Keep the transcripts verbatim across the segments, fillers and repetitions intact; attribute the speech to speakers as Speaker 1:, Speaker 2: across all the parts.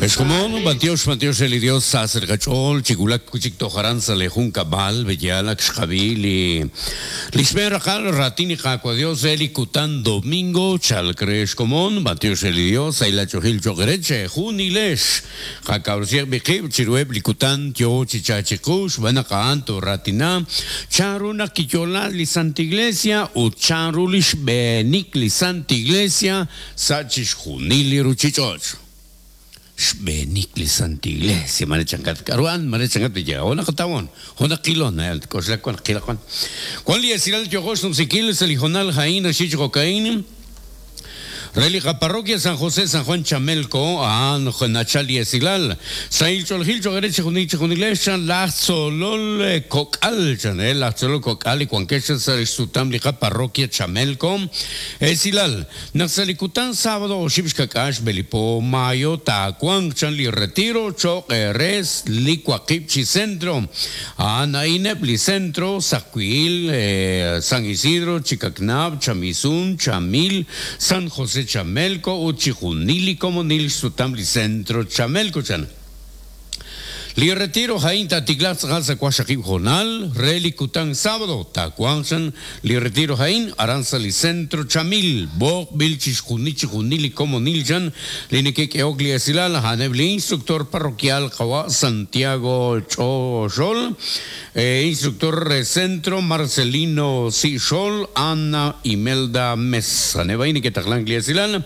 Speaker 1: Exkomon, bantiox, bantiox el Dios sa sergachol, chigulak kuchik tojaran sa lejun kabal, beyalak xkabili. Lishmer akal ratini kakwa Dios eli kutan domingo, chalcre exkomon, bantiox el Dios, ayla chohil chogereche, junilesh, jakaursiek bikib, chirueb likutan, tio chichachikush, banakaanto ratina, charuna kiyola li Santa Iglesia, ucharulish benik li Santa Iglesia, sachish junili ruchichoch. Xbenik li Santa Iglesia, marechangat karuan, marechangat ya, ona katawon, ona kilon, kosla kwan kila kwan. Kwan li esiral tiogosh numsikil, selijonal jain, ashich cocaín. Religa Parroquia San José San Juan Chamelco, an Nachali Esilal, Sail Cholgil Chogereche Juniche Junileshan, La Solol Cocal, Chanel, La Solol Cocal y Cuanquecha Sutam Lija Parroquia Chamelco, Esilal, Naxalicután sábado, Oshibshkakash, Belipo, Mayo, Tacuan, Chanli Retiro, Choc, Res, Licuaquipchi Centro, Anainepli Centro, Sacuil, eh, San Isidro, Chicacnab, Chamizún, Chamil, San José Chamelco, Uchijunili, como Nil Sutamli Centro, Chamelco, Chan. Li retiro jain tatiklat galsa kwashakib jonal, reli kutan sábado, takuanchan, li retiro jain, aranza li centro chamil, bok bilchis junichi junili como nilchan, li nekek eogli esilal, hanebli instructor parroquial kawa Santiago Choxol, eh, instructor centro Marcelino Sixol, Ana Imelda Mesa, nebaini que taklan li esilal.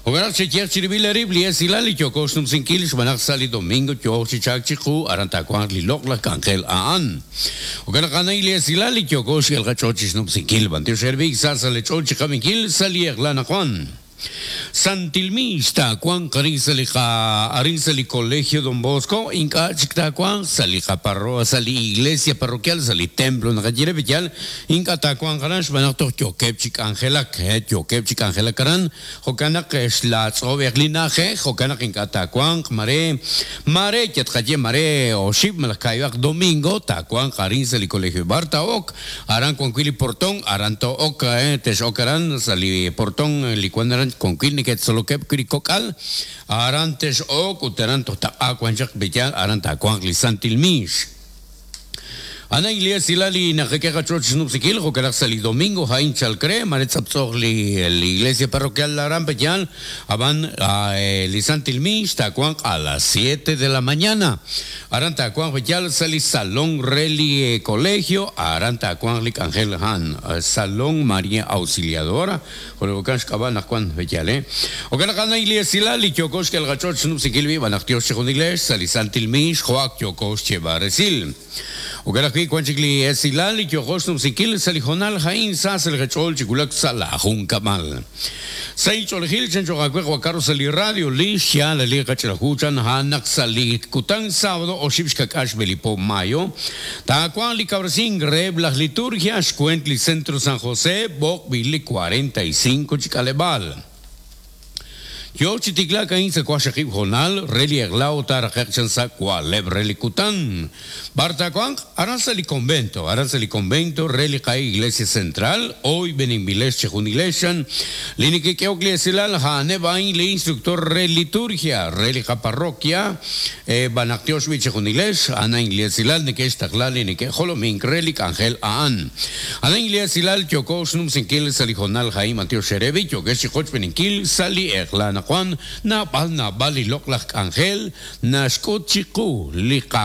Speaker 1: Ogaral chechiach chiribilarib li esilal y chocos numsinkil xbanaq sali domingo choch chichak chiku arantakuan li lokla kangel aan. Ogaral kanay li esilal y chocos el gachochis numsinkil bantio servik sasa le choch chikaminkil sali eglana Juan. Santilmista Juan Carinzalija Arinzali Colegio Don Bosco Inca Chicta Juan Salija Parroa Sali Iglesia Parroquial Sali Templo Nagayere Villal Inca Tacuan Garash Banacto Chokepchik Angela Chokepchik Angela Karan Jokanak Schlatz Oberlinaje Jokanak Inca Tacuan Mare Mare Yatkaye Mare Oship Malakayuak Domingo Tacuan Carinzali Colegio Barta Ok Aran Cuanquili Portón Aranto Ok Tesh Okaran Sali Portón Licuanaran con quilniket solokep kirikokal arantes ok uteranto ta aquanchak beyal aranta cuangli santilmish. Ana Iglesia Silali najekeja choch nupsikil jokalak sali domingo jain chalcre maretzapzogli la iglesia parroquial la Aran aban lisantilmish tacuan a las siete de la mañana. Aranta cuan beyal sali salón reli colegio aranta cuan lik Angel Han salón María Auxiliadora jolokansh kaban cuan beyal eh. Okalak Ana Iglesia Silali chokosh kel gachoch nupsikil vi banaktios chejun iglesia sali santilmish joak chokosh chebaresil. Okalak Cuanchicli esilal y kyojos numsikil salijonal jain sas el gechol chikulak salajun kamal. Sei cholgil chenchogaque guacaro sali radio li xia la liga chelajuchan hanak sali kutan sábado o shibshkakash belipo mayo. Tacuan li cabracín greb las liturgias cuentli centro San José bok bili cuarenta y cinco chicalebal. Yo chitikla kain se kwashakib jonal, reli eglao tarajechan sa kwaleb reli kutan. Bartacuan, aranzali convento, aranzali convento, reli kai iglesia central, hoy benimbiles chejunileshan, linike keoklesilal, hanebain le instructor re liturgia, reli ka parroquia, eh, banaktiosh bichejunilesh, ana inglesilal, nike estaklali, nike jolomink, reli angel aan. Ana inglesilal, chokosh numsinkil, salijonal jaim antiosh sherebi, chokesh choch beninkil, sali eglana Juan, na bal na bali loklak angel, na shkot chiku, liqa